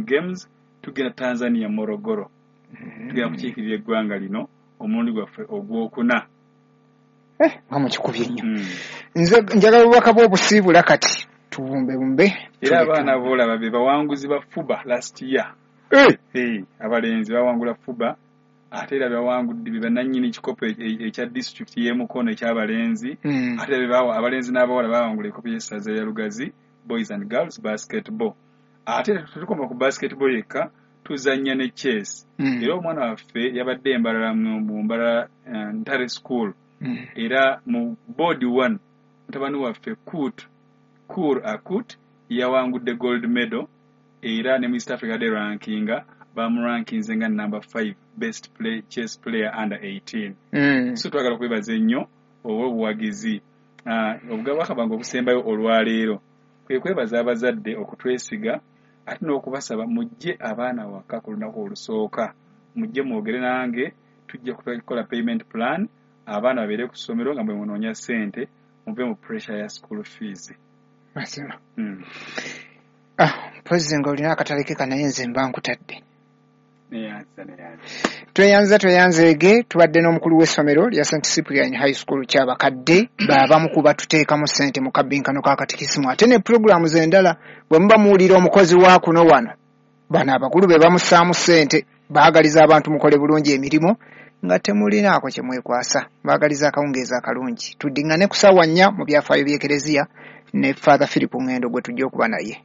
African Games, tugenda Tanzania, Morogoro. Tugenda kukiikirira eggwanga lino omulundi gwaffe ogwokuna. Nga mukikubye nnyo. Nze njagala obubaka bw'obusiibula kati tubumbe bumbe. Era abaana boolaba be bawanguzi ba FUBA last year. Abalenzi bawangula FUBA, ate era bawangudde be bannannyini kikopo ekya disitulikiti y'e Mukono eky'abalenzi. Ate era abalenzi n'abawala bawangula ekikopo y'essaza ya Lugazi boys and girls basketball. Ate tetukoma ku basketball yekka, tuzannya ne chess. Era omwana waffe yabadde Embalala mu Mbalala Ntare School. Era mu board 1 mutabani waffe Kur Akut yawangudde gold medal, era ne mu East Africa Day rankinga bamurankinze nga number 5 best chess player under 18. So twagala okwebaza ennyo olw'obuwagizi. Obubaka bwange obusembayo olwaleero kwe kwebaza abazadde okutwesiga, ate n'okubasaba mujje abaana waka ku lunaku olusooka, mujje mwogere nange, tujja kukola payment plan, abaana babeere ku ssomero nga bwe munoonya ssente, muve mu pressure ya school fees. Mazima. Mpozi nga olina akatale ke naye nze mba nkutadde. Tweyanza tweyanzeege, tubadde n'omukulu w'essomero lya St Cyprian High School Kyabakadde, baabamu kuba tuteekamu ssente mu kabbinkano ka katikisimu, ate ne pulogulaamu z'endala. Bwe muba muwulira omukozi wa kuno wano, bano abakulu be bamussaamu ssente, baagaliza abantu mukole bulungi emirimu nga temulinaako kye mwekwasa. Baagaliza akawungeezi akalungi. Tuddiŋŋane ku ssaawa 4 mu byafaayo by'Ekereziya ne Father Philip Ngendo gwe tujja okuba naye.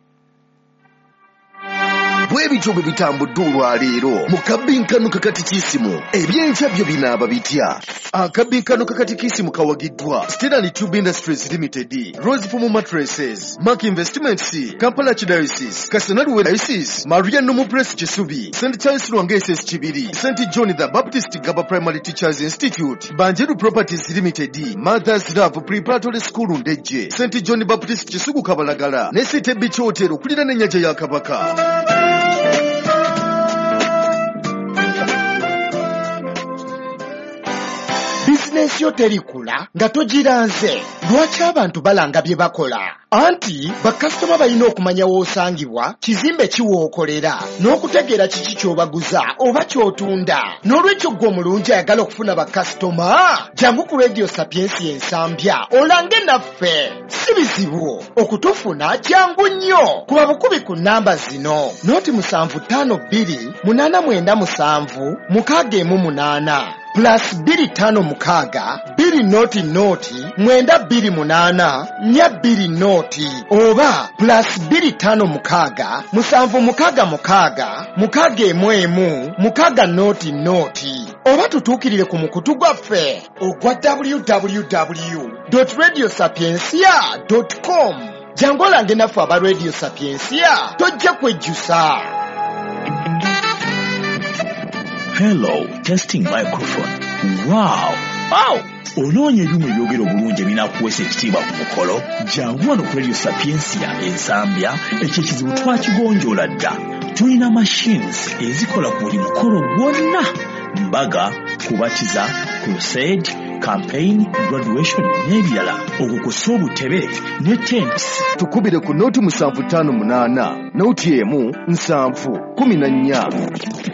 Bwe bityo bwe bitambudde olwaleero mu kabbinkano kakatikisimu, ebyenkya byo binaaba bitya? Akabbinkano kakatikisimu kawagiddwa Stellan Tube Industries Limited, Rose Foam Mattresses, Mark Investments, Kampala Archdiocese, Kasanaluwe Diocese, Maria Nomu Press Kisubi, St Charles Lwanga SS Kibiri, St John the Baptist Gaba Primary Teachers Institute, Banjeru Properties Limited, Mother's Love Preparatory School Ndejje, St John Baptist Kisugu Kabalagala, ne City Beach Hotel okuliraana ennyanja ya Kabaka. Bizinensi yo terikula nga togiranze. Lwaki abantu balanga bye bakola? Anti bakasitoma balina okumanya w'osangibwa, kizimbe ki w'okolera, n'okutegeera kiki ky'obaguza oba ky'otunda. N'olwekyo ggwe omulungi ayagala okufuna bakasitoma, jangu ku Radio Sapiensia Ensambya olange naffe. Si bizibu okutufuna, jangu nnyo. Kuba bukubi ku nnamba zino: 0752 897 618 plus 256 2 0 0 928 4 20 oba plus 256 766 611 6 0 0, oba tutuukirire ku mukutu gwaffe ogwa www.radiosapiencia.com. Jangu olange naffe aba Radio Sapiensia, tojja kwejjusa. Hello, testing microphone. Wow! Wow! Onoonya ebyuma ebyogera obulungi ebinaakuweesa ekitiibwa ku mukolo? Jangu wano ku Radio Sapiensia Ensambya, ekyo ekizibu twakigonjoola dda. Tulina machines ezikola ku buli mukolo gwonna: mbaga, kubatiza, crusade, campaign, graduation n'ebirala. Okwo kw'ossa obutebe ne tents. Tukubire ku 0758 01 7 14.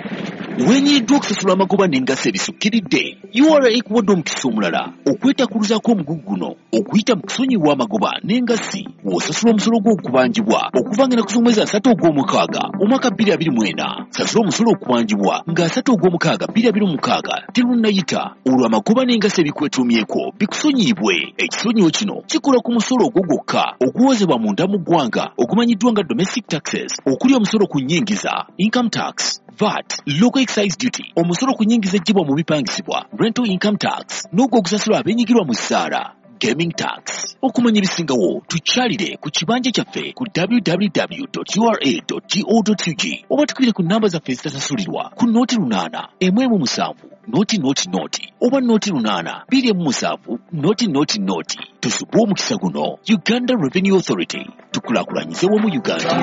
Wenyiddwa okusasula amagoba n'engassi ebisukkiridde, URA ekuwadde omukisa omulala okwetakuluzaako omugugu guno okuyita mu kusonyiwa amagoba n'engassi w'osasula omusolo gw'okubanjibwa okuva nga ennaku z'omwezi 3 ogw'omukaaga omwaka 2024. Sasula omusolo okubanjibwa nga 3 ogw'omukaaga 2026 terunnayita, olwo amagoba n'engassi ebikwetuumyeko bikusonyiyibwe. Ekisonyiwo kino kikola ku musolo ogwo gwokka oguwozebwa munda mu ggwanga ogumanyiddwa nga domestic taxes, okuli omusolo ku nnyingiza, income tax, VAT, local excise duty, omusolo ku nnyingiza eggyibwa mu bipangisibwa, rental income tax, n'ogwo ogusasulwa abeenyigirwa mu ssaala, gaming tax. Okumanya ebisingawo tukyalire ku kibanja kyaffe ku www.ura.go.ug oba tukubire ku nnamba zaffe ezitasasulirwa ku 08 17 0 0 0 oba 08 27 0 0 0. Tusubwe omukisa guno. Uganda Revenue Authority, tukulaakulanyize wamu Uganda.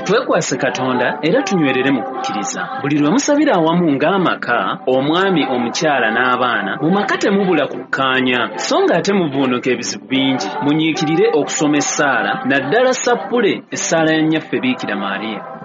Twekwase Katonda era tunywerere mu kukkiriza. Buli lwe musabira awamu ng'amaka, omwami, omukyala n'abaana, mu maka temubula kukkaanya, so ng'ate muvuunuka ebizibu bingi. Munyiikirire okusoma essaala, naddala sappule, essaala ya Nnyaffe Biikira Maria.